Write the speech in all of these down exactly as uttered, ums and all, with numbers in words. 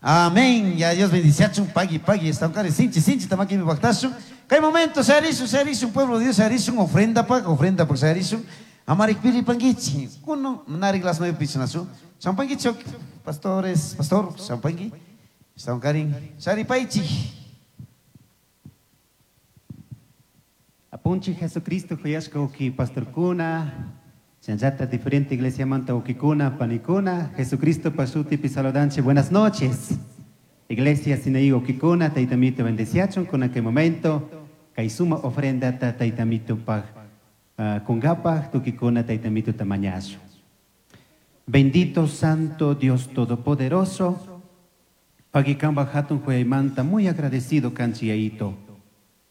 Amén. Ya Dios bendiciachun, pagui, pagui, estancare, sinchi, sinchi, tamaki mi bactashun. Kay momento, sharisun, sharisun, pueblo de Dios, sharisun, ofrenda pa, ofrenda pa, sharisun. Amarik piri panguichi, kuno, narik las nueve pichinasu. Champanguichi, pastores, pastor, champangui. Estancari, sharipaichi. Apunchi Jesucristo, huyashka uki pastorkuna, chanchata diferente iglesia manta ukikuna, panikuna, Jesucristo pasuti saludanche, buenas noches. Iglesia Sinaí ukikuna, taitamito bendeciachon, con aquel momento, kaisuma ofrenda ta taitamito paj, uh, kungapaj, tukikuna taitamito tamañazo. Bendito Santo Dios Todopoderoso, pagikamba hatun huyaymanta, muy agradecido kanchiyaito.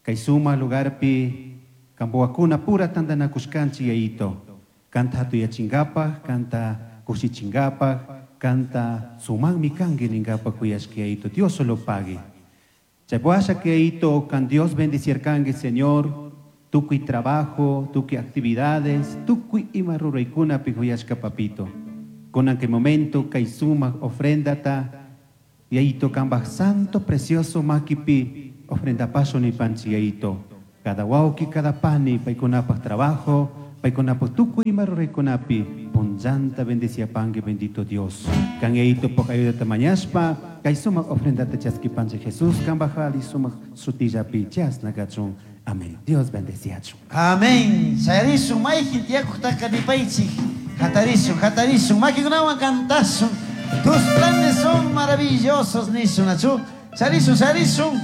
Kaisuma lugarpi, kamboakuna pura tandanakushkanchi yaito. Kanta hatuyachingapaj, kanta kushichingapaj, kanta sumanmi kanki ningapaj huyashkiyaito. Dios solo pague. Chaypuasha kiyaito, kan Dios bendecirkanki, Señor, tukuy trabajo, tukuy actividades, tukuy ima ruraykunapi huyashka papito. Kunan kay momento kaysuma ofrendata, yaito kambaj santo precioso makipi, ofrenda paso ni panchi yaito. Cada wauki, cada pani, paykunapaj trabajo, paykunapaj tukuy ima ruraykunapi, punllanta bendeciapanki, bendito Dios. Kan yaito pok ayudata mañashpa, kay sumak ofrendata chaskipanchi Jesús, kambaj ali sumak sutillapi chasna kachun. Amén. Dios bendeciachun. Amén. Sharisun, mayjin tiyakujtaqa nipaychik. Hatarisun, hatarisun, makikunawan cantasun. Tus planes son maravillosos, nisun, achu. Sharisun, sharisun.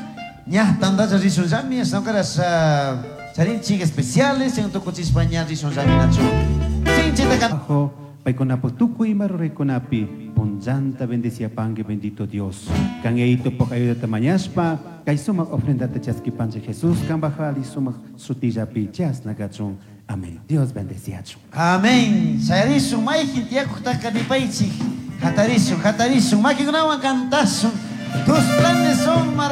Ña, tandacha risun llami, estancas charinchik especiales, en tukuchispa ña risun llami, nachu. Sinchita can- Ajo, paykunapu tukuy ima ruraykunapi, punllanta bendeciapanki, bendito Dios. Kan yaito pok ayudata mañashpa, kay sumak ofrendata chaskipanchi Jesús, kambaj ali sumak sutillapi chasna kachun. Amén. Dios bendeciachun. Amén. Sharisun, mayjin tiyakujtaqa nipaychik. Hatarisun, hatarisun, makikunawan cantasun. Tus planes son maravillosos.